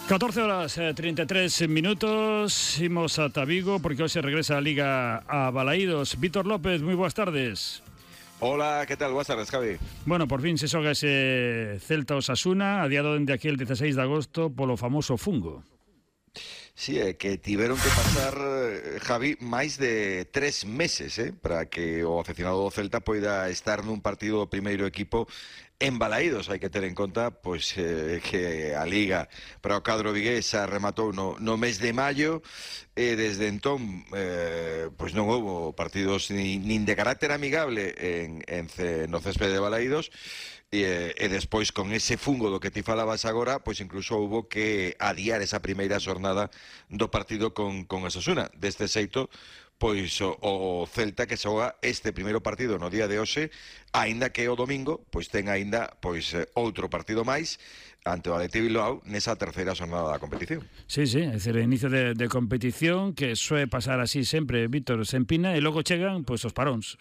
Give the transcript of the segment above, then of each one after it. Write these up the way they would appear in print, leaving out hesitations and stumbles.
14 horas 33 minutos, imos ata Vigo porque hoxe regresa a Liga a Balaídos. Víctor López, moi boas tardes. Hola, ¿qué tal? Buenas tardes, Javi. Bueno, por fin se xoga ese Celta Osasuna, adiado dende aquel 16 de agosto polo famoso fungo. Sí, que tiveron que pasar, Javi, máis de 3 meses para que o aficionado do Celta poida estar nun partido do primeiro equipo en Balaídos. Hai que ter en conta que a Liga para o cadro vigués rematou no mes de maio e desde entón non houbo partidos nin de carácter amigable no céspede de Balaídos. E despois con ese fungo do que ti falabas agora, pois incluso houbo que adiar esa primeira xornada do partido con Osasuna. Deste xeito, pois o Celta que xoga este primeiro partido no día de hoxe, aínda que o domingo pois ten aínda outro partido máis ante o Athletic Bilbao nesa terceira xornada da competición. Sí, é dicir, inicio de competición que suele pasar así sempre, Víctor, se empina e logo chegan pois os paróns.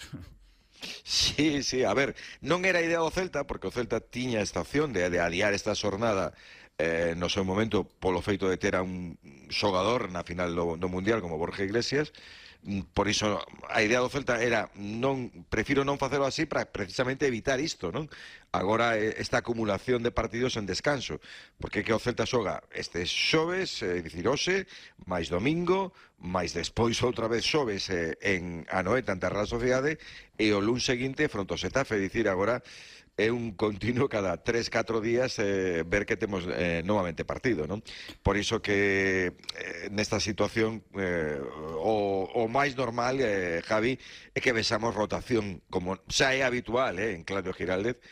Sí, a ver, non era idea do Celta, porque o Celta tiña esta opción de adiar esta xornada no seu momento polo feito de ter a un xogador na final do Mundial como Borja Iglesias. Por iso a idea do Celta era prefiro non facelo así para precisamente evitar isto, non? Agora esta acumulación de partidos en descanso, porque que o Celta xoga este xoves, dicir hoxe, máis domingo, máis despois outra vez xoves en Anoeta ante a Real Sociedade e o luns seguinte fronte ao Xetafe, dicir agora é un continuo cada 3-4 días ver que temos novamente partido, non? Por iso que nesta situación o máis normal, Javi, é que vexamos rotación, como xa é habitual en Claudio Giraldez,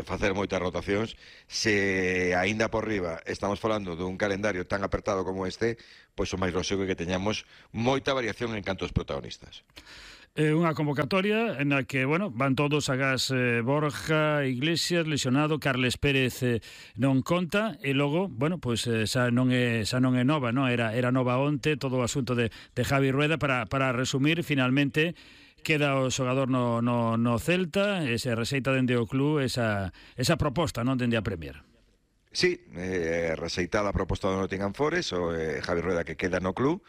facer moitas rotacións. Se aínda por riba estamos falando dun calendario tan apertado como este, pois o máis lóxico é que teñamos moita variación en canto aos protagonistas. Unha convocatoria en a que, van todos agás Borja Iglesias lesionado, Carles Pérez non conta e logo, xa non é nova, non? Era nova onte todo o asunto de Javi Rueda para resumir, finalmente queda o xogador no Celta e se rexeita dende o club esa proposta, non, dende a Premier. Sí, rexeitada a proposta do Nottingham Forest, o Javi Rueda que queda no club.